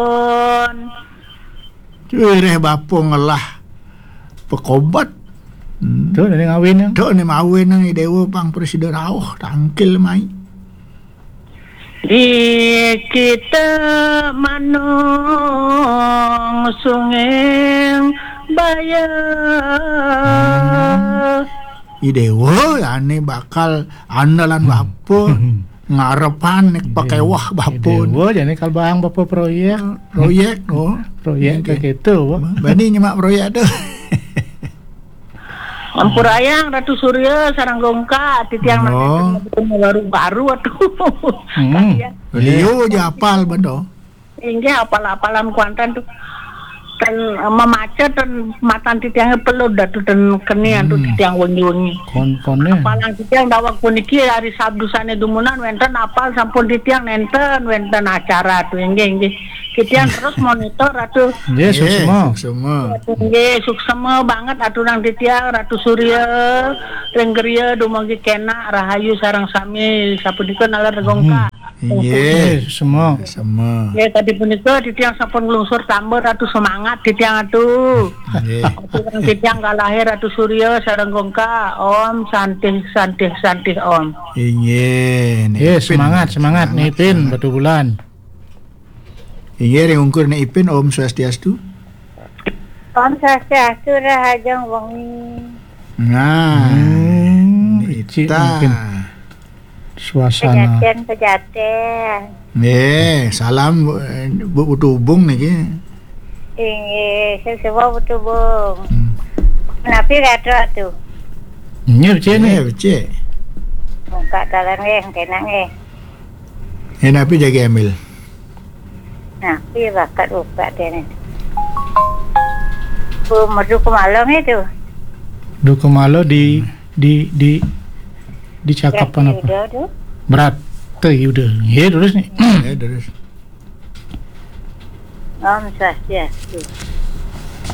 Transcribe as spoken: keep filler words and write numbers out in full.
Pun. Cuy, reh bapa ngelah pekobat. Hmm. Tu, ni ngawin yang. Tu, ni mawin yang i Dewa pang presiden rauh, tangkil mai. Di kita manung sunging baya. Hmm. I Dewa, ya, ni bakal andalan bapa. Hmm. Ngarepan ni pakewah bapa. I Dewa, jadi kal baang bapa proyek. Proyek, oh. Proyek ke gitu, Pak. Bani nyemak proyek tu. Ampurayang Ratu Surya sareng Gongka, titiang baru-baru atuh. Hmm. Kasihan. Beliau je apal betul. Inggih apal-apalan kuantan tu. Ten memaca ten matan titiangnya pelud atuh ten kenian tu. Hmm. Titiang wengi-wengi. Kon-, konnya. Apalan titiang daweg puniki hari Sabtu sane dumunan wenten apal sampun titiang nenten wenten acara tu. Inggih, inggih. Titiang terus monitor atuh. Nggih, suksma. Suksma. Nggih, suksma banget aturang titiang Ratu Surya, ring griya dumugi kenak rahayu sareng sami sapunika nalar Gongka. Hmm. Inggih. Inggih, suksma. Suksma. Nggih, tadi punika titiang sampun nglungsur tambur atuh semangat titiang atuh. Nggih. Aturang titiang kalahir Ratu Surya sareng Gongka. Om Santih, Santih, Santih Om. Inggih, Ni Ipin. Semangat, semangat, Ni Ipin, semangat. Batu Bulan. Inggih, ring ungkur Ni Ipin, Om Swastiastu. Om Swastiastu, rahajeng wengi. Nah, hmm, Nita. Mungkin suasana. Pejaten, pejaten. Nggih, salam, Bu, Bu Tubung niki. Inggih, sing sewa Bu Tubung. Hmm. Napi kata tu? Nggih, becik ni. Nggih, becik. Buka dalan nggih, kenak nggih. Eh, napi jagi ambil? Nah, iya bakat upat dia ni. Bu, merdu kemala ni tu. Du kemala di, di, di, di cakap apa? Udah tu. Berat. Tu udah. Ya, terus ni. Ya, terus. Om Swastiastu.